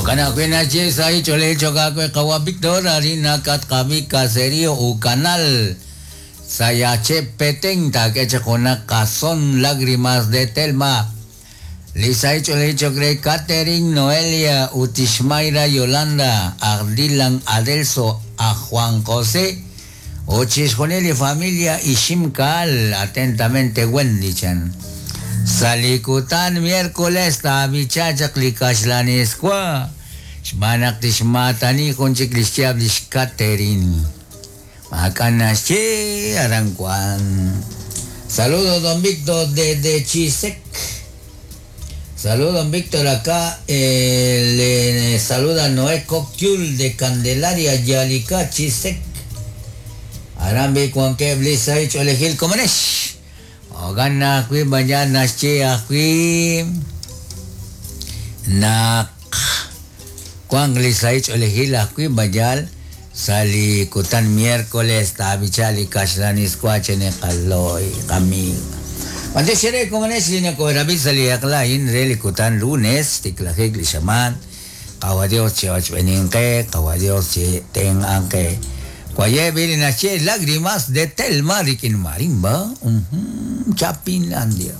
Jo'kan ajwi' naxye sahil ch'oolejil cho'q aawe qawa' Víctor, arin nakatqab'i Caserío Ucanal, Sayaxche' Petén, taak'e chaq junaq qason Lágrimas de Telma. Li sahil ch'oolejil cho'q re Katherine, Noelia ut Ixmayra Yolanda, aj Dylan Adelso, aj Juan José ut chixjunil li familia Iximkaal. Atentamente Wendy chan. Sa' li kutan miércoles taab'icha chaq li kaxlaniswa xb'aan naq tixmaatani jun chik li xyaab' li xKatherine. Maak'a' naxye aran wan. Saludos don Víctor desde Chisec. Saludos don Víctor acá eh, le saluda Noé Coquiul de Candelaria Yalika Chisec. Aran bi wankeb' li sahil ch'oolejil komonex. Jo'kan ajwi' mañana naxye ajwi' naq wanq li sahil ch'oolejil ajwi' mayal sa' li kutan miércoles taab'icha li kaxlaniswa cheneqaloy qamiig. B'antiox eere komonex li nakoorab'i sa' li eq'la a'in re li kutan lunes xtiklajik li xamaan. Qawa' Dios chi'ochb'eeninq qe, Qawa' Dios chitenq'anq qe. Waye' b'i li naxye Lágrimas de Telma rik'in marimba, Chapinlandia.